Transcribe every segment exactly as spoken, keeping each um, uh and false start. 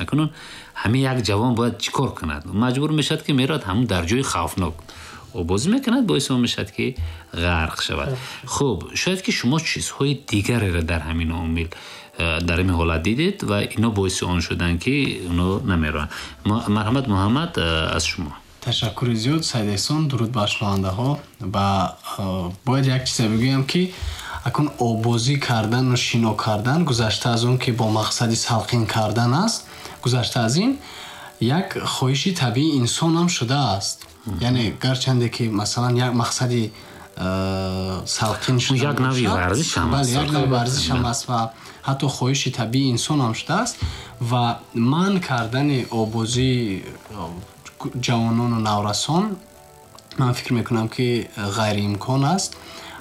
Акнун ҳамин як ҷавон бояд чӣ кор кунад? Маҷбур мешавад, ки меравад ҳамун дар ҷои хавфнок обозӣ мекунад, боиси он мешавад, ки ғарқ шавад. Хуб, шояд ки шумо чизҳои дигареро дар ҳамин омил, э, дар ҳамин ҳолат дидед ва ино боиси он шуданд, ки оно намераванд. Марҳамат, Муҳаммад, э, аз шумо. Ташаккури зиёд, Саид Эҳсон. Дуруд бар шунавандаҳо. Ва э, бояд як чизе бигӯям, ки акун обозӣ кардану шино кардан, гузашта аз он ки бо мақсади салқин кардан аст, гузашта аз ин як хоҳиши табиии инсонам шудааст. Яъне гарчанде ки, масалан, як мақсади э, салқин шудан як навъи варзиш ҳам. Бале, як навъи варзиш ҳам аст ва ҳатто хоҳиши табиии инсон ҳам шудааст. Ва манъ кардани обозии ҷавонону наврасон, ман фикр мекунам, ки ғайриимкон аст.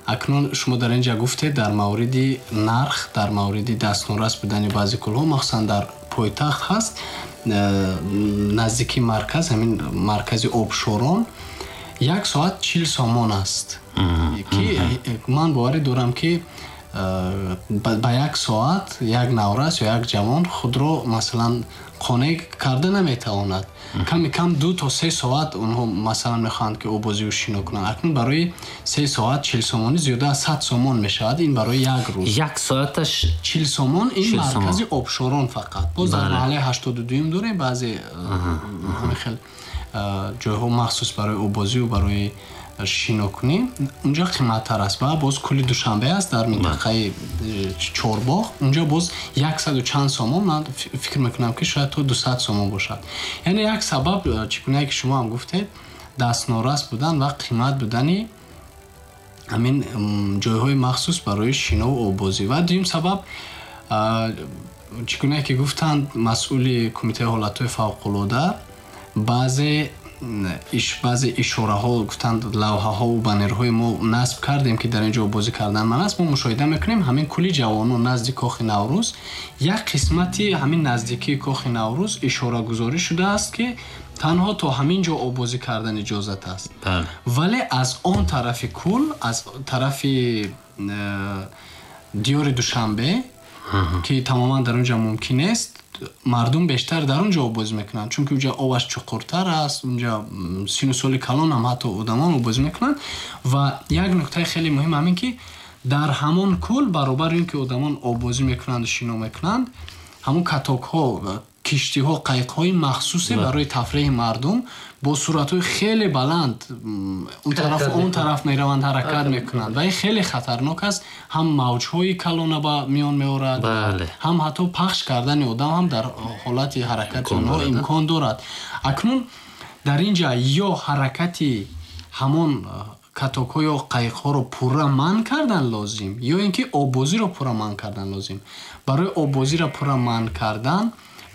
Акнун шумо дар ин ҷа гуфтед дар мавриди нарх, дар мавриди дастнорас будани баъзе кӯлҳо, махсусан дар пойтахт ҳаст, э, наздики марказ, ҳамин маркази Обшорон, як соат чил сомон аст, ки ман боварӣ дорам, ки э, ба як соат як наврас ё як ҷавон худро, масалан, қонеъ карда наметавонад. Ками кам ду то се соат онҳо, масалан, мехоҳанд, ки обозию шино кунанд. Акнун барои се соат чил сомонӣ зиёда аз сад сомон мешавад. Ин барои як рӯз. Як соаташ. Чил сомон. Ин маркази Обшорон фақат. Боз дар маҳаллаи ҳаштоду дуюм дорем баъзе ҳамин хел ҷойҳо, махсус барои обозию барои шинокунӣ. Унҷо қиматтар аст. Ва боз кӯли Душанбе аст дар минтақаи э, Чорбоғ. Унҷо боз яксаду чанд сомон, ман фикр мекунам, ки шояд то дусад сомон бошад. Яъне як сабаб, э, чӣ гунае ки шумо ҳам гуфтед, дастнорас будан ва қимат будани ҳамин ҷойҳои махсус барои шинову обозӣ. Ва дуюм сабаб, чӣ гунае ки гуфтанд масъули Кумитаи ҳолатҳои фавқулода, баъзе баъзе ишораҳо, гуфтанд, лавҳаҳову баннерҳои мо насб кардем, ки дар ин ҷо бозӣ кардан манъ аст. Мо мушоҳида мекунем, ҳамин кӯли Ҷавонон назди Кохи Наврӯз, як қисмати ҳамин наздикии Кохи Наврӯз ишорагузорӣ шудааст, ки танҳо то ҳамин ҷо обозӣ кардан иҷозат аст, вале аз он тарафи кӯл, аз тарафи э, диёри Душанбе, ки тамоман дар он ҷо мумкин нест, мардум бештар дар он ҷо обозӣ мекунанд, чунки унҷа обаш чуқуртар аст. Унҷа сину соли калон ҳам ҳатто одамон обозӣ мекунанд. Ва як нуктаи хеле муҳим ҳамин, ки дар ҳамон кӯл, баробари ин ки одамон обозӣ мекунанду шино мекунанд, ҳамон катокҳо, киштиҳо, қайиқҳои махсусе барои тафреҳи мардум бо суръатҳои хеле баланд он тараф, он тараф мераванд, ҳаракат мекунанд. Ва ин хеле хатарнок аст: ҳам мавҷҳои калона ба миён меорад, ҳам ҳатто пахш кардани одам ҳам дар ҳолати ҳаракати онҳо имкон дорад. Акнун дар ин ҷа ё ҳаракати ҳамон катокҳо ё қайиқҳоро пурра манъ кардан лозим, ё ин ки оббозиро пурра манъ кардан лозим. Барои оббозиро пурра манъ кардан,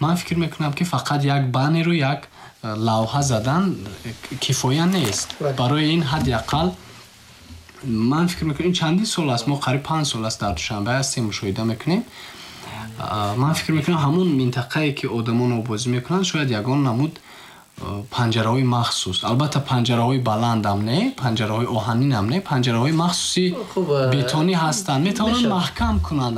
ман фикр мекунам, ки фақат як баннеру як э, лавҳа задан э, кифоя нест. Барои ин ҳадди ақал, ман фикр мекунам, ин чандин сол аст, мо қариб панҷ сол аст дар Душанбе ҳастем, мушоҳида мекунем. Ман фикр мекунам, ҳамон минтақае ки одамон обозӣ мекунанд, шояд ягон намуд панҷараҳои махсус, албатта панҷараҳои баландам не, панҷараҳои оҳанинам не, панҷараҳои махсуси бетонӣ ҳастанд, метавонанд маҳкам кунанд,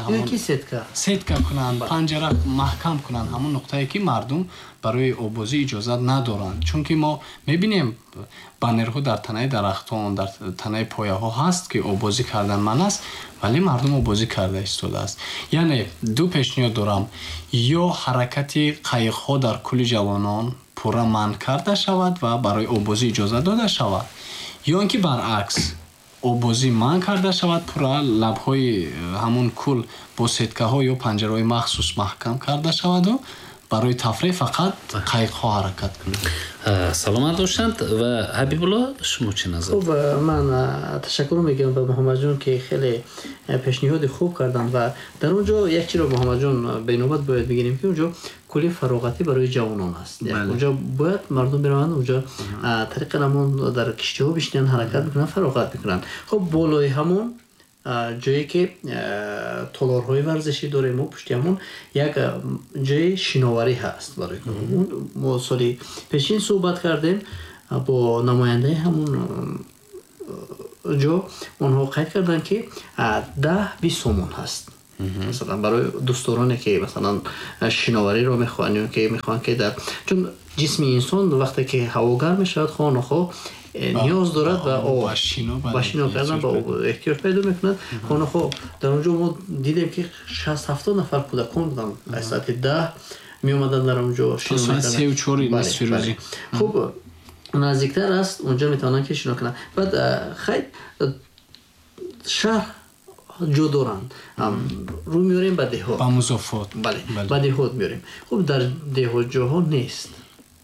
сетка кунанд, панҷара маҳкам кунанд ҳамон нуқтае, ки мардум барои обозӣ иҷозат надоранд. Чунки мо мебинем, баннерҳо дар танаи дарахтон, дар танаи пояҳо ҳаст, ки обозӣ кардан манъ аст, вале мардум обозӣ карда истодааст. Яъне ду пешниҳод дорам: ё ҳаракати қайиқҳо дар кӯли Ҷавонон пурра манъ карда шавад ва барои обозӣ иҷозат дода шавад, ё ин ки баръакс, обозӣ манъ карда шавад пурра, лабҳои э, ҳамон кӯл бо сеткаҳо ё панҷараҳои махсус маҳкам карда шаваду барои тафреҳ фақат қайиқҳо ҳаракат кунанд. Саломат бошанд. Ва Ҳабибулло, шумо чӣ назар? Хуб, ман ташаккур мегӯям ба Муҳаммадҷон, ки хеле пешниҳоди хуб карданд. Ва дар он ҷо як чиро, Муҳаммадҷон, бенобат бояд бигирем, ки он ҷо кӯли фароғатӣ барои ҷавонон аст. Онҷо бояд мардум бираванд, онҷо тариқи ҳамон дар киштиҳо бишинанд, ҳаракат мекунанд, фароғат мекунанд. Хуб, болои ҳамон ҷое ки толорҳои варзишӣ дорем, мо пушти ҳамон як ҷои шиноварӣ ҳаст барои мо. Соли пешин суҳбат кардем бо намояндаи ҳамон ҷо, онҳо қайд карданд, ки даҳ бист сомон ҳаст. Масалан барои дӯстдороне ки масалан шиновариро мехоҳанд ё ки мехоҳанд ки дар чун ҷисми инсон вақте ки ҳаво гарм мешавад, хоҳ нохоҳ ниёз дорад ба об, ба шино кардан, ба об эҳтиёҷ пайдо мекунад. Хоҳ нохоҳ дар он ҷо мо дидем ки шаст ҳафтод нафар кӯдакон буданд, аз соати даҳ меомаданд дар он ҷо шино мекарданд. се чор нисфи рӯзӣ. Хуб, наздиктар аст, онҷо метавонанд ки шино кунанд. Баъд хайр, шаҳр ҷо доранд, рӯ меорем ба деҳот, ба музофот, бале, ба деҳот меорем. Хуб, дар деҳот ҷоҳо нест.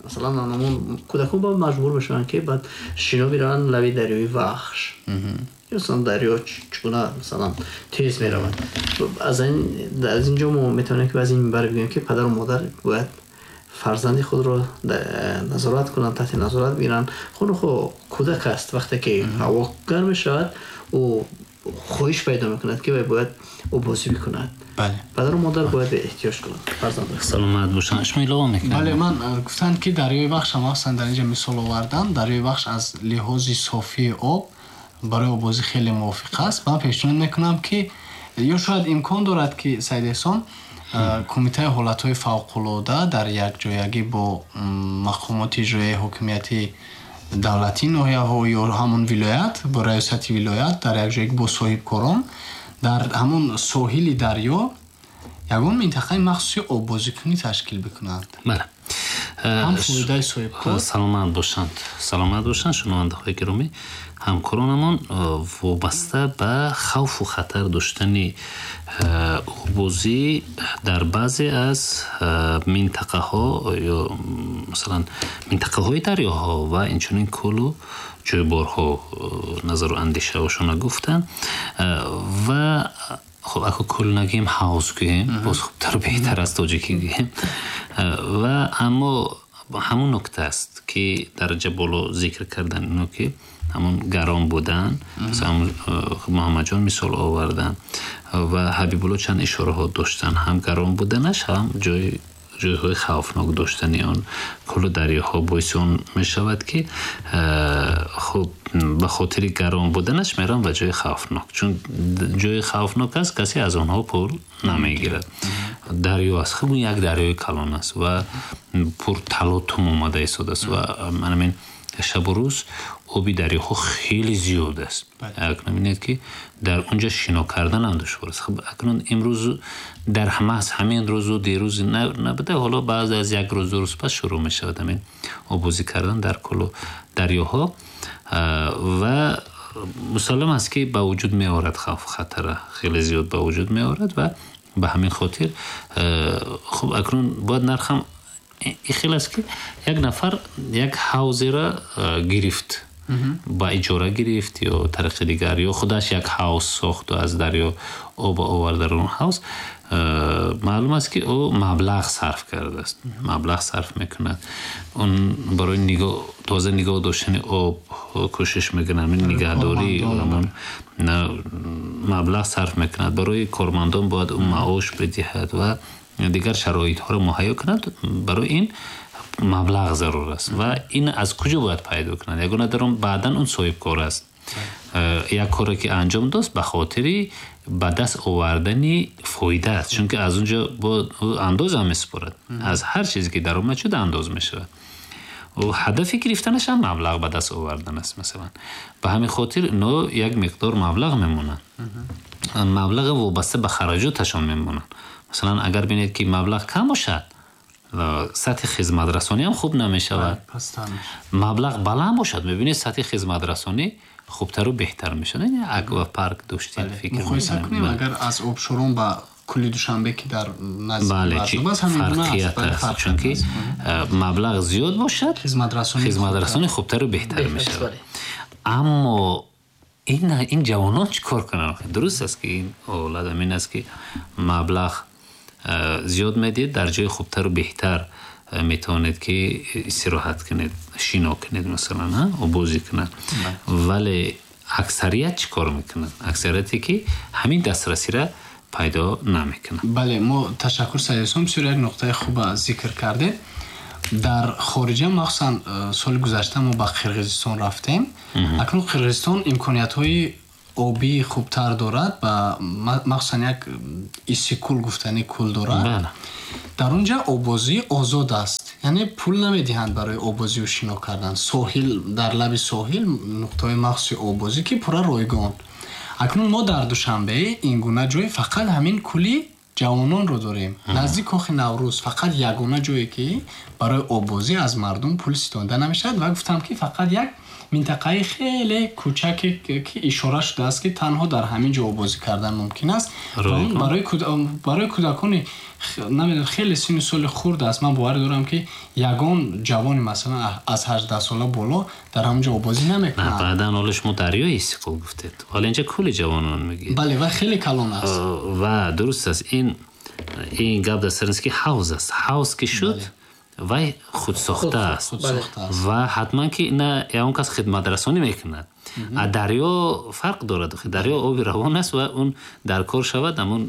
Масалан ҳамон кӯдакон ба маҷбур мешаванд ки баъд шино бираванд лаби дарёи Вахш. Ё масалан дарё чӣ гуна масалан тез меравад. Аз ин аз инҷо мо метавонем ки аз ин минбар бигӯем ки падару модар бояд фарзанди худро назорат кунанд, таҳти назорат бигиранд. Хонухо кӯдак аст, вақте ки ҳаво гарм мешавад, ӯ хоҳиш пайдо мекунад ки вай бояд обозӣ бикунад. Падару модар бояд эҳтиёҷ кунанд фарзандро. Саломат бошанд. Шумо илова мекунед? Бале, ман гуфтанд ки дарёи Вахш ҳам махсусан дар инҷа мисол овардам. Дарёи Вахш аз лиҳози софии об барои обозӣ хеле мувофиқ аст. Ман пешниҳод мекунам ки ё шояд имкон дорад ки Саид Эҳсон, кумитаи ҳолатҳои фавқулода дар якҷоягӣ бо мақомоти иҷроияи ҳокимияти давлатӣ ноҳияҳо ё ҳамон вилоят, бо раёсати вилоят дар якҷоягӣ бо соҳибкорон дар ҳамон соҳили дарё ягон минтақаи махсуси оббозикунӣ ташкил бикунанд. Бале. Ҳам фоидаи соҳибкор. Саломат бошанд. Саломат бошанд шунавандаҳои гиромӣ. Ҳамкоронамон вобаста ба хавфу хатар доштани оббозӣ дар баъзе аз минтақаҳо ё масалан минтақаҳои дарёҳо ва инчунин кӯлу ҷӯйборҳо назару андешаҳошона гуфтанд. Ва хуб, ако кӯл нагӯем, ҳавз гӯем, боз хубтару беҳтар аст, тоҷикӣ гӯем. Ва аммо ҳамон нукта аст ки дараҷа боло зикр кардан, ино ки ҳамон гарон будан, Муҳаммадҷон мисол овардан ва Ҳабибулло чанд ишораҳо доштанд, ҳам гарон буданаш, ҳам ҷои ҷойҳои хавфнок доштани он кӯлу дарёҳо боиси он мешавад ки хуб, ба хотири гарон буданаш мераванд ба ҷои хавфнок, чун ҷои хавфнок аст, касе аз онҳо пул намегирад. Дарё аст, хуб, як дарёи калон аст ва пурталотум омада истодааст ва манамин шабу рӯз оби дарёҳо хеле зиёд аст. Акнун бинед ки дар онҷа шино кардан ҳам душвор аст. Хуб, акнун имрӯз дар маҳз ҳамин рӯзу дирӯз набуда, ҳоло баъд аз як рӯз, ду рӯз пас шурӯъ мешавад ҳамин оббозӣ кардан дар кӯлу дарёҳо ва мусаллам аст ки ба вуҷуд меорад хавфу хатара, хеле зиёд ба вуҷуд меорад ва ба ҳамин хотир хуб, акнун бояд нархам ин хел аст ки як нафар як ҳавзеро гирифт, ба иҷора гирифт ё тариқи дигар, ё худаш як ҳавз сохту аз дарё об овард дар он ҳавз, маълум аст ки ӯ маблағ сарф кардааст, маблағ сарф мекунад, он барои тоза нигоҳ доштани об кӯшиш мекунад, нигаҳдорӣ ҳамон маблағ сарф мекунад, барои кормандон бояд ӯ маош бидиҳад ва дигар шароитҳоро муҳайё кунад. Барои ин маблағ зарур аст ва ин аз куҷо бояд пайдо кунад? Ягона дар он баъдан он соҳибкор аст, як коре ки анҷом дод ба хотири ба даст овардани фоида аст, чунки аз он ҷо андоз ҳам месупорад, аз ҳар чизе ки даромад шуд андоз мешавад. Ҳадафи гирифтанаш ҳам маблағ ба даст овардан аст. Масалан, ба ҳамин хотир ино як миқдор маблағ мемонанд, маблағи вобаста ба хараҷоташон мемонанд. Масалан, агар бинед ки маблағ кам бошад, сатҳи хизматрасонӣ ҳам хуб намешавад. Маблағ баланд бошад, мебинед сатҳи хизматрасонӣ хубтару беҳтар мешавад. Аквапарк доштем, фикр муқоиса кунем, агар аз обшорон ба кӯли Душанбе ки дар наздик фарқият аст, чунки маблағ зиёд бошад, хизматрасонӣ хубтару беҳтар мешавад. Аммо ин ин ҷавонон чӣ кор кунанд? Дуруст аст ки ин ҳолат ҳамин аст ки маблағ зиёд медиҳед, дар ҷои хубтару беҳтар метавонед ки истироҳат кунед, шино кунед, масалан, обозӣ кунад. Вале аксарият чӣ кор мекунанд? Аксарияте ки ҳамин дастрасиро пайдо намекунанд. Бале, мо ташаккур, Саид Эҳсон, бисёр як нуқтаи хуба зикр кардед. Дар хориҷа, махсусан соли гузашта мо ба Қирғизистон рафтем. Акнун Қирғизистон имкониятҳои обии хубтар дорад ва махсусан як Иссиқкӯл гуфтани кӯл дорад. Дар он ҷо оббозӣ озод аст, яъне пул намедиҳанд барои оббозию шино кардан. Соҳил, дар лаби соҳил нуқтаҳои махсуси оббозӣ ки пурра ройгон. Акнун мо дар Душанбе ин гуна ҷой фақат ҳамин кӯли ҷавононро дорем. Наздик Кохи Наврӯз фақат ягона ҷое ки барои оббозӣ аз мардум пул ситонда намешавад ва гуфтам ки фақат як минтақаи хеле кӯчаке ки ишора шудааст ки танҳо дар ҳамин ҷо оббозӣ кардан мумкин аст. Барои кӯдакони намедонам хеле синну соли хурд аст. Ман боварӣ дорам ки ягон ҷавони масалан аз ҳаждаҳ сола боло дар ҳамон ҷо оббозӣ намекунад. Баъдан ҳоло шумо дарёи Иссиқкӯл гуфтед, ҳоло инҷа кӯли ҷавонон мегӯед. Бале, ва хеле калон аст. Ва дуруст аст, ин ин гап дар сар аст ки ҳавз аст. Ҳавз ки шуд, вай худсохта аст ва ҳатман ки на ягон кас хидматрасонӣ мекунад. Дарё фарқ дорад. Дарё оби равон аст ва он дар кор шавад, ҳамон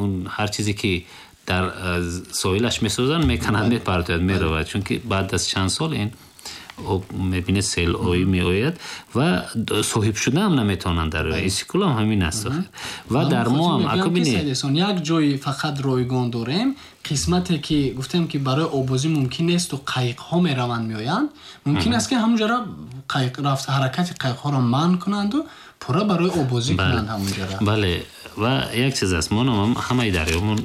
он ҳар чизе ки дар соҳилаш месозанд, мекунанд, мепартояд, меравад. Чунки баъд аз чанд сол ин об мебинед селоӣ меояд ва соҳиб шуда ҳам наметавонанд дарё. Иссиқкӯл ҳам ҳамин аст. Ва дар мо ҳам аку бинед, як ҷои фақат ройгон дорем, қисмате ки гуфтем ки барои оббозӣ мумкин нест ва қайиқҳо мераванд меоянд, мумкин аст ки ҳамонҷоро қайиқ рафт, ҳаракати қайиқҳоро манъ кунанду пурра барои оббозӣ кунанд ҳамонҷоро. Бале, ва як чиз аст, мо ҳамаи дарёмон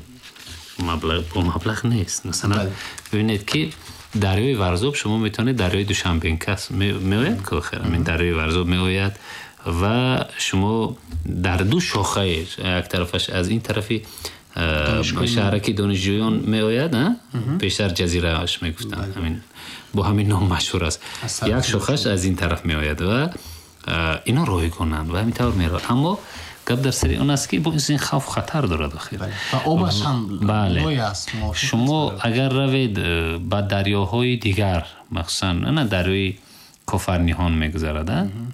маблағ бо маблағ нест. Масалан бибинед ки дарёи Варзоб шумо метавонед дарёи Душанбенкас меояд ки охир ҳамин дарёи Варзоб меояд ва шумо дар ду шохаи як тарафаш аз ин тарафи шаҳраки донишҷӯён меояд, пештар ҷазирааш мегуфтанд, ҳамин бо ҳамин ном машҳур аст. Як шохаш аз ин тараф меояд ва ино ройгонанд ва ҳамин тавр меравад. Аммо гап дар сари он аст ки боз ин хавф хатар дорад охир. Ва обаш ҳам лой аст. Шумо агар равед ба дарёҳои дигар, махсусан на дарёи Кофарниҳон мегузарад,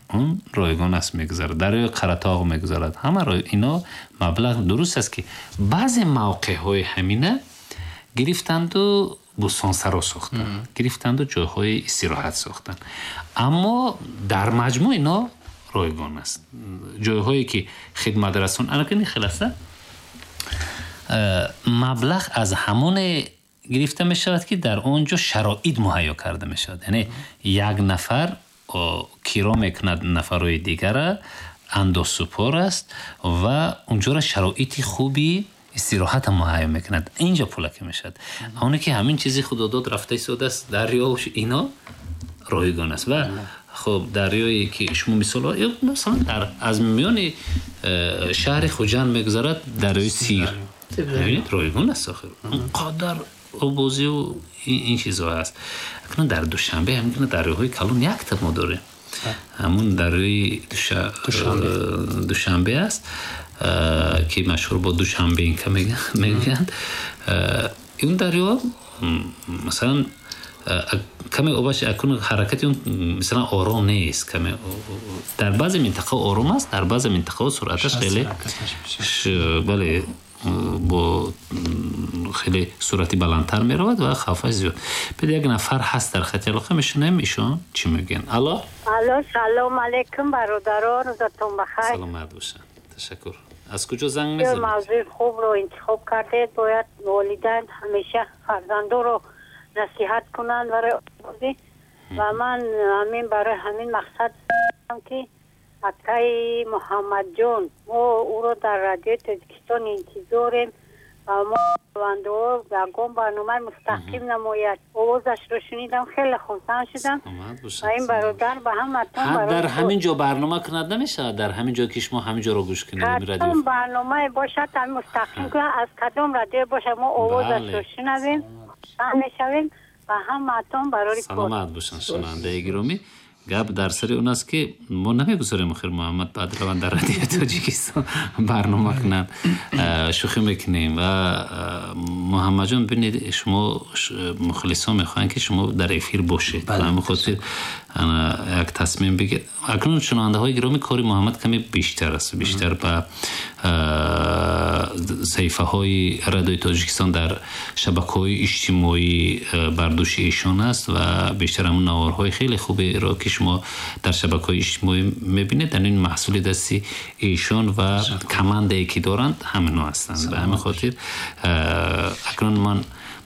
он ройгон аст мегузарад, дарёи Қаратоғ мегузарад, ҳама ино маблағ. Дуруст аст ки баъзе мавқеъҳои ҳамина гирифтанду бӯстонсаро сохтанд, гирифтанду ҷойҳои истироҳат сохтанд, аммо дар маҷмӯъ ино ройгон аст. Ҷойҳое ки хидматрасон анакини хеласта маблағ аз ҳамоне гирифта мешавад ки дар он ҷо шароит муҳайё карда мешавад. Яъне як нафар киро мекунад нафарҳои дигара, андозсупор аст ва унҷоро шароити хуби истироҳата муҳайё мекунад. Инҷо пулаке мешавад. Оне ки ҳамин чизи худодод рафта истодааст, дарё ино ройгон аст. Ва хуб дарёе ки шумо мисол масалан дар аз миёни шаҳри Хуҷанд мегузарад дарёи Сир, бибинед ройгон аст охир, он қадар оббозию ин чизҳо аст. Акнун дар Душанбе ҳамин дарёҳои калон якта мо дорем, ҳамун дарёи Душанбе аст ки машҳур бо Душанбенка мегӯянд. Ин дарё масалан каме обаш акун ҳаракати он масалан ором нест, каме дар баъзе минтақаҳо ором аст, дар баъзе минтақаҳо суръаташ хеле бале бо хеле суръати баландтар меравад ва хавфаш зиёд. Бед як нафар ҳаст дар хати алоқа, мешунавем ишон чӣ мегӯянд. Алло, алло, салом алейкум бародарон, рӯзатон бахайр. Саломат бошанд, ташаккур. Аз куҷо занг мезанед? Мавзӯи хубро интихоб кардед. Бояд волидайн ҳамеша фарзандонро насиҳат кунанд барои оббозӣ ва ман ҳамин барои ҳамин мақсад ки акаи Муҳаммадҷон, мо ӯро дар радиои Тоҷикистон интизорем ва мо шунавандаҳо ягон барномаи мустақим намояд. Овозашро шунидам, хеле хурсанд шудам ва ин бародар ба ҳаматон дар ҳамин ҷо барнома кунад намешавад, дар ҳамин ҷо ки шумо ҳамин ҷоро гӯш кунед, кадом барномае бошад ҳамин мустақим кунад, аз кадом радио бошад мо овозашро шунавем, хурсанд мешавем ва ҳаматон барори кор. Саломат бошанд шунавандаи гиромӣ. Гап дар сари он аст ки мо намегузорем охир Муҳаммад баъд раванд дар радиои Тоҷикистон барнома кунанд, шӯхӣ мекунем. Ва Муҳаммадҷон, бинед, шумо мухлисон мехоҳанд ки шумо дар эфир бошед, ба ҳамин хотир як тасмим бигиред. Акнун шунавандаҳои гиромӣ, кори Муҳаммад каме бештар аст, бештар ба саҳифаҳои радиои Тоҷикистон дар шабакаҳои иҷтимоӣ бар дӯши эшон аст ва бештар ҳамон наворҳои хеле хуберо ки шумо дар шабакаҳои иҷтимоӣ мебинед, ин маҳсули дасти эшон ва командае ки доранд ҳаминҳо ҳастанд. Ба ҳамин хотир акнун ман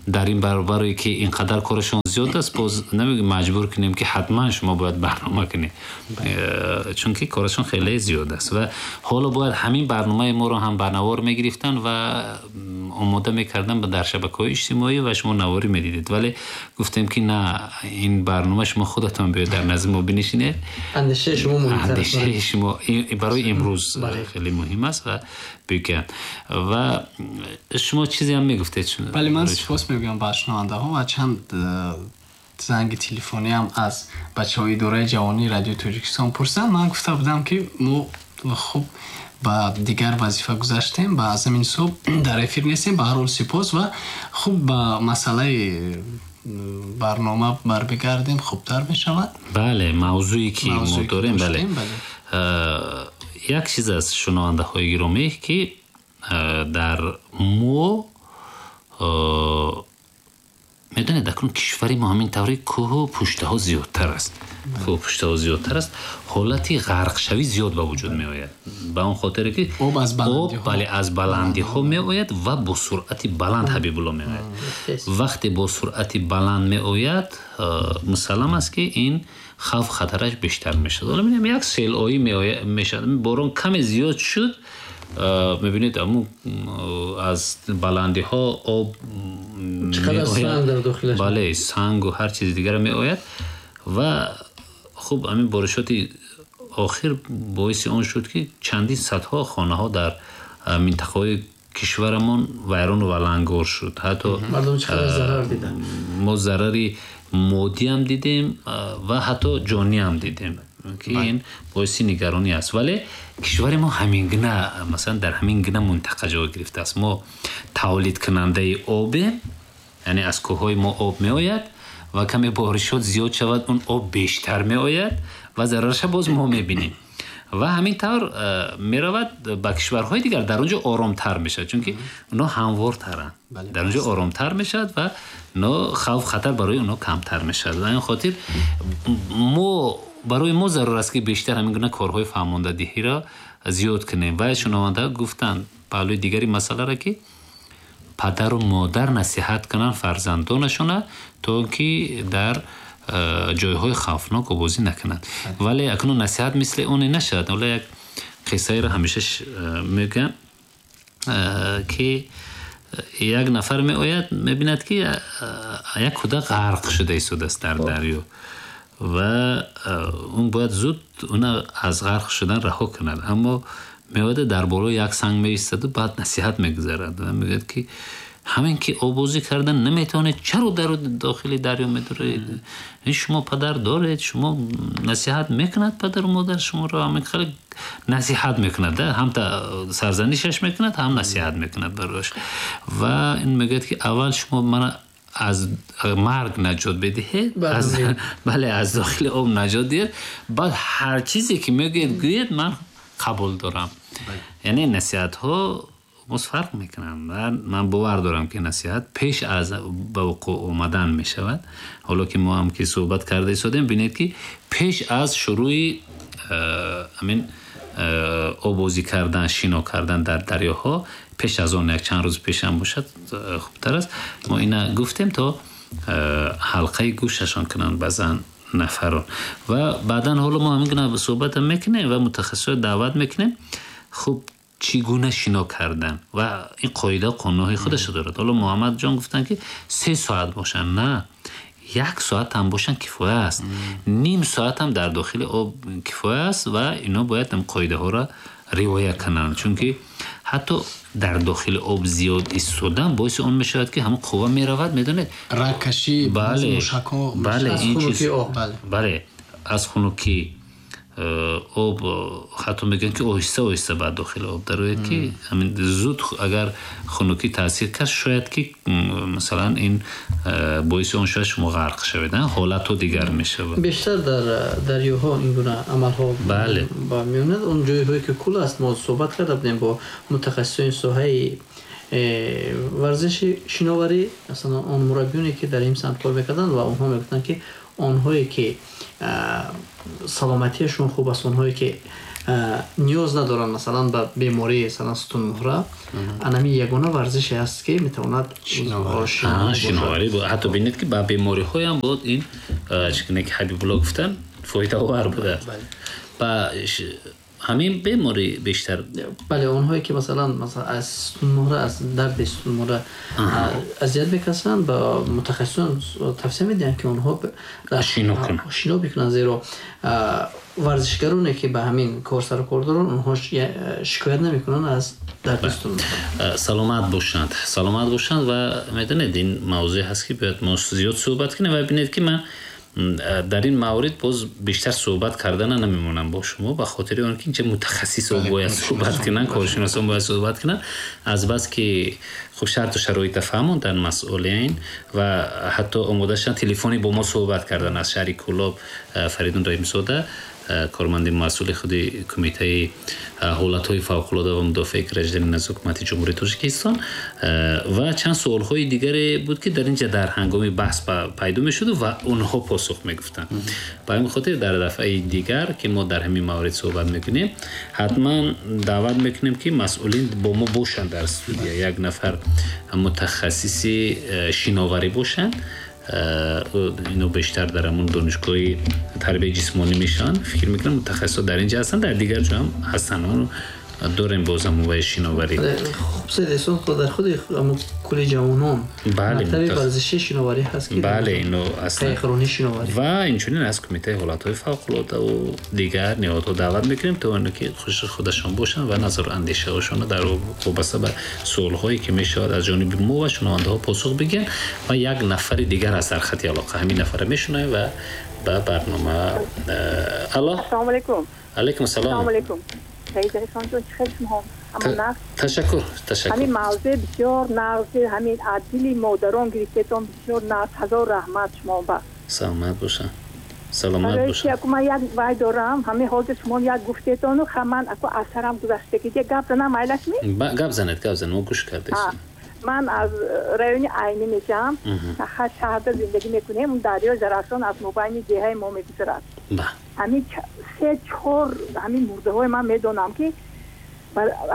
дар ин баробаре ки инқадар корашон зиёд аст, боз намегӯем маҷбур кунем ки ҳатман шумо бояд барнома кунед, чунки корашон хеле зиёд аст ва ҳоло бояд ҳамин барномаи моро ҳам ба навор мегирифтанд ва омода мекарданд ба дар шабакаҳои иҷтимоӣ ва шумо наворӣ медидед. Вале гуфтем ки на, ин барнома шумо худатон биёед дар назди мо бинишинед. Андешаи шумо муҳимтар аст. Андешаи шумо барои имрӯз хеле муҳим аст ва бигӯям. Ва шумо чизе ҳам мегуфтед? Бале, ман сипос мегӯям ба шунавандаҳо ва чанд занги телефонӣ ҳам аз бачаҳои идораи ҷавонии Радиои Тоҷикистон пурсиданд. Ман гуфта будам ки мо хуб ба дигар вазифа гузаштем, ба аз ҳамин ҳисоб дар эфир нестем. Ба ҳар ҳол сипос ва хуб ба масъалаи барнома барбигардем, хубтар мешавад. Бале, мавзӯе ки мо дорем, бале. Як чиз аз шунавандаҳои гиромӣ ки дар мо медонед, акнун кишвари мо ҳамин таври кӯҳу пуштаҳо зиёдтар аст. Кӯҳу пуштаҳо зиёдтар аст, ҳолати ғарқшавӣ зиёд ба вуҷуд меояд. Ба он хотире ки об аз баландиҳо, бале, аз баландиҳо меояд ва бо суръати баланд Ҳабибулло меояд. Вақте бо суръати баланд меояд, мусаллам аст ки ин хавф хатараш бештар мешавад. Ҳоло мебинем як селоӣ мешавад, борон каме зиёд шуд, мебинед аму аз баландиҳо об чақадар санг дар дохилаш, бале, сангу ҳар чизи дигар меояд. Ва хуб ҳамин боришоти охир боиси он шуд ки чандин садҳо хонаҳо дар минтақаҳои кишварамон вайрону валангор шуд. Ҳатто мардум чақадар зарар диданд. Мо зарари моддӣ ҳам дидем ва ҳатто ҷонӣ ҳам дидем ки ин боиси нигаронӣ аст. Вале кишвари мо ҳамин гуна, масалан дар ҳамин гуна минтақа ҷой гирифтааст. Мо тавлидкунандаи обем, яъне аз кӯҳҳои мо об меояд ва каме боришот зиёд шавад, он об бештар меояд ва зарараша боз мо мебинем. Ва ҳамин тавр меравад ба кишварҳои дигар, дар он ҷо оромтар мешавад, чунки онҳо ҳамвортаранд. Дар он ҷо оромтар мешавад ва хавф хатар барои онҳо камтар мешавад. Ва ин хотир мо барои мо зарур аст ки бештар ҳамин гуна корҳои фаҳмондадиҳиро зиёд кунем. Ва шунавандаҳо гуфтанд паҳлӯи дигари масъаларо ки падару модар насиҳат кунанд фарзандонашона то ки дар ҷойҳои хавфнок обозӣ накунанд. Вале акнун насиҳат мисли оне нашавад. Ҳоло як қиссаеро ҳамеша мегӯям ки як нафар меояд, мебинад ки як кӯдак ғарқ шуда истодааст дар дарё ва он бояд зуд она аз ғарқ шудан раҳо кунад. Аммо меояд дар болои як санг меистаду баъд насиҳат мегузарад ва мегӯяд ки ҳамин ки обозӣ кардан наметавонед, чаро дар дохили дарё медуред? Шумо падар доред, шумо насиҳат мекунад падару модар шуморо, ҳамин хеле насиҳат мекунад, ҳам сарзанишаш мекунад, ҳам насиҳат мекунад барояш. Ва ин мегӯяд ки аввал шумо мана аз марг наҷот бидиҳед, бале, аз дохили об наҷот диҳед, баъд ҳар чизе ки мегӯед гӯед, ман қабул дорам. Яъне насиҳатҳо боз фарқ мекунанд. Ман бовар дорам ки насиҳат пеш аз ба вуқӯъ омадан мешавад. Ҳоло ки мо ҳам ки суҳбат карда истодем, бинед ки пеш аз шурӯи ҳамин обозӣ кардан, шино кардан дар дарёҳо, пеш аз он як чанд рӯз пеш ҳам бошад хубтар аст. Мо ина гуфтем то ҳалқаи гӯшашон кунанд баъзан нафарон. Ва баъдан ҳоло мо ҳамин гуна суҳбат мекунем ва мутахассисро даъват мекунем. Хуб, чӣ гуна шино кардан ва ин қоида қонунҳои худашро дорад. Ҳоло Муҳаммадҷон гуфтанд ки се соат бошанд, на, як соат ҳам бошанд кифоя аст, ним соат ҳам дар дохили об кифоя аст ва ино бояд ҳам қоидаҳоро риоя кунанд, чунки ҳатто дар дохили об зиёд истодан боиси он мешавад ки ҳамон қувва меравад, медонед, рагкашӣ, бале, мушакҳо, бале, ин чиз, бале, аз хунукӣ об, ҳатто мегӯянд ки оҳиста оҳиста ба дохили об дарояд ки ҳамин зуд агар хунукӣ таъсир кард, шояд ки масалан ин боиси он шояд шумо ғарқ шавед, ҳолатҳо дигар мешавад. Бештар дар дарёҳо ин гуна амалҳо бале ба меояд. Он ҷойҳое ки кул аст, мо суҳбат карда будем бо мутахассисони соҳаи Варзиши шиноварӣ, масалан он мураббиёне ки дар ин самт кор мекарданд ва онҳо мегуфтанд ки онҳое ки саломатиашон хуб аст, онҳое ки ниёз надоранд масалан ба бемории масалан сутунмуҳра, анами ягона варзише аст ки метавонад шиноварӣ. Ҳатто бинед ки ба бемориҳоям буд ин чӣ гуна ки Ҳабибулло гуфтанд, фоидаовар будааст. Ба ҳамин беморӣ бештар, бале, онҳое ки масалан аз сутунмуҳра, аз дарди сутунмуҳра азият мекашанд, ба мутахассисон тавсия медиҳанд ки онҳо шино кунанд, шино бикунанд, зеро варзишгароне ки ба ҳамин кор сару кор доранд, онҳо шикоят намекунанд аз дарди сутунмуҳра. Саломат бошанд, саломат бошанд. Ва медонед ин мавзӯе ҳаст ки бояд мо зиёд суҳбат кунем ва бинед ки ман дар ин маврид боз бештар суҳбат кардана намемонам бо шумо, ба хотири он ки инҷа мутахассисо бояд суҳбат кунанд, коршиносон бояд суҳбат кунанд, аз бас ки хуб шарту шароита фаҳмонданд масъулин ва ҳатто омода шуданд телефонӣ бо мо суҳбат кардан аз шаҳри Кӯлоб Фаридун Раҳимзода, корманди масъули худи кумитаи ҳолатҳои фавқулода ва мудофиаи гражданин аз ҳукумати Ҷумҳурии Тоҷикистон, ва чанд суолҳои дигаре буд ки дар инҷа дар ҳангоми баҳс пайдо мешуд ва онҳо посух мегуфтанд. Ба ҳамин хотир дар дафъаи дигар ки мо дар ҳамин маврид суҳбат мекунем, ҳатман даъват мекунем ки масъулин бо мо бошанд дар студия, як нафар мутахассиси шиноварӣ бошанд, ино бештар дар ҳамон донишгоҳи тарбияи ҷисмонӣ мешаванд, фикр мекунам мутахассисо дар инҷа ҳастанд, дар дигар ҷо ҳам ҳастанд, дорем боз ҳамон шиноварӣ. Хуб, Саид Эҳсон, дар худи кули ҷавонон мактаби варзишии шиноварӣ ҳаст ки, бале, ино аслан қайқронии шиноварӣ ва инчунин аз кумитаи ҳолатҳои фавқулода ва дигар ниҳодҳо даъват мекунем то оно ки хуш худашон бошанд ва назару андешаҳошонро дар вобаста ба суолҳое ки мешавад аз ҷониби мо ва шунавандаҳо посух бигиранд. Ва як нафари дигар аз дар хати алоқа, ҳамин нафара мешунавем ва ба барнома. Алло, ассалому алайкум. Алайкум ассалом. Ассалому алайкум. Саид Эҳсон ҷон, чӣ хел шумо? Амон. Ташаккур, ташаккур. Ҳамин мавзӯъ бисёр нағз, ҳамин адили модарон гирифтетон бисёр нағз, ҳазор раҳмат шумо ба. Саломат бошанд. Саломат бошанд. Барои ки ман як вай дорам, ҳамин ҳозир шумо як гуфтетону ман аку асарам гузаштагӣ, гап занам айлаш ми? Гап занед, гап занед, мо гӯш кардем. Ман аз райони Айнӣ мешавам, шаҳрда зиндагӣ мекунем, дарёи Зарафшон аз мобайни деҳаи мо мегузарад. Ҳамин се чор ҳамин мурдаҳои ман медонам ки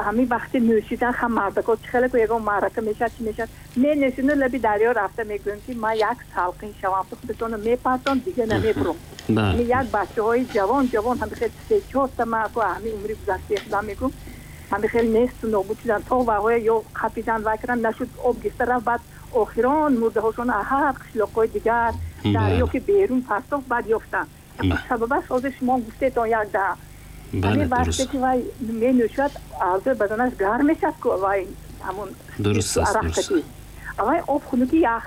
ҳамин вақти нӯшидан ҳам мардако чӣ хеле ку ягон маърака мешавад, чӣ мешавад, менӯшину лаби дарё рафта мегӯем ки ман як салқин шавам, ту худатонро мепартон, дига намебурам. Ҳамин як бачаҳои ҷавон ҷавон ҳамин хел се чорта ман ку ҳамин умри гузаштаи худам мегӯм, ҳамин хел несту нобуд шудан, то ваҳоя ё қапидан вай кардан нашуд, об гирифта рафт, баъд охирон мурдаҳошон ҳар қишлоқҳои дигар дарё ки берун партофт, баъд ёфтанд. Сабабаш ҳозир шумо гуфтетон як даҳа. Ҳамин вақте ки вай менӯшад, аъзои баданаш гарм мешавад ку вай ҳамон арақкатӣ. Вай об хунуки ях.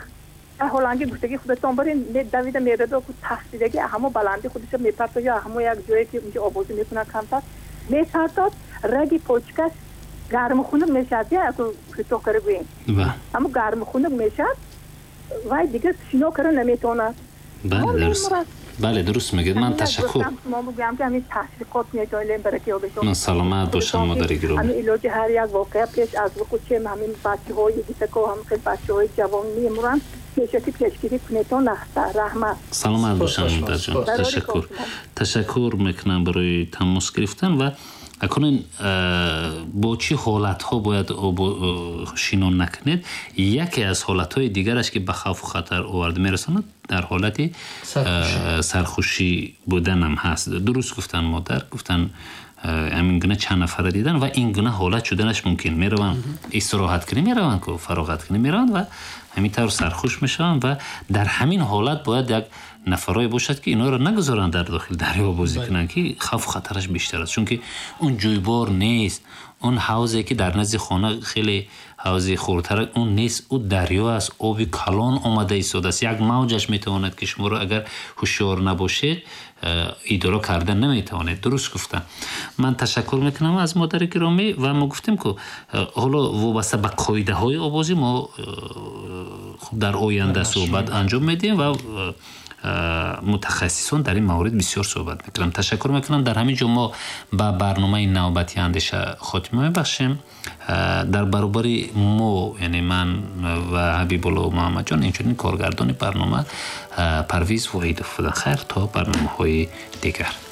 Ҳоланги гуфтагӣ худатон барин давида мерадо ку тафтидаги ҳамо баланди худашо мепартод ё ҳамо як ҷое ки унҷо обозӣ мекунад камтар мепартод, раги почкаш гарму хунук мешавад, я кӯтоҳ кара гӯем. Ҳамо гарму хунук мешавад, вай дигар шино кара наметавонад. Бале, дуруст. Бале, дуруст мегӯед. Ман ташаккур. Шумо бигӯям ки ҳамин ташвиқот метавонем бараки ёбетон. Ман саломат бошам, модари гиромӣ. Ҳамин илоҷи ҳар як воқеа пеш аз вуқӯъ чем ҳамин бачаҳои гитако, ҳамин хел бачаҳои ҷавон мемуранд, пешакӣ пешгирӣ кунетон нахта. Раҳмат. Саломат бошам, модарҷон. Ташаккур. Ташаккур мекунам барои тамос гирифтан. Ва акнун бо чӣ ҳолатҳо бояд шино накунед? Яке аз ҳолатҳои дигараш ки ба хавфу хатар оварда мерасонад, дар ҳолати сархушӣ буданам ҳаст. Дуруст гуфтан модар, гуфтан ҳамин гуна чанд нафара дидан ва ин гуна ҳолат шуданаш мумкин. Мераванд истироҳат кунӣ, мераванд ку фароғат кунӣ мераванд ва ҳамин тавр сархуш мешаванд ва дар ҳамин ҳолат бояд як нафарое бошад ки инҳоро нагузоранд дар дохили дарё бозӣ кунанд, ки хавфу хатараш бештар аст, чунки он ҷӯйбор нест, он ҳавзе ки дар назди хона хеле ҳавзи хурдтар он нест, ӯ дарё аст, оби калон омада истодааст, як мавҷаш метавонад ки шуморо агар ҳушёр набошед идора карда наметавонед. Дуруст гуфтам. Ман ташаккур мекунам аз модари гиромӣ. Ва мо гуфтем ку ҳоло вобаста ба қоидаҳои обозӣ мо хуб дар оянда суҳбат анҷом медиҳем ва Мутахассисон дар ин маврид бисёр суҳбат мекунанд. Ташаккур мекунам. Дар ҳамин ҷо мо ба барномаи навбати андеша хотима мебахшем. Дар баробари мо, яъне ман ва Ҳабибулло Муҳаммадҷон, инчунин коргардони барнома Парвиз Воҳидов буданд. Хайр, то барномаҳои дигар.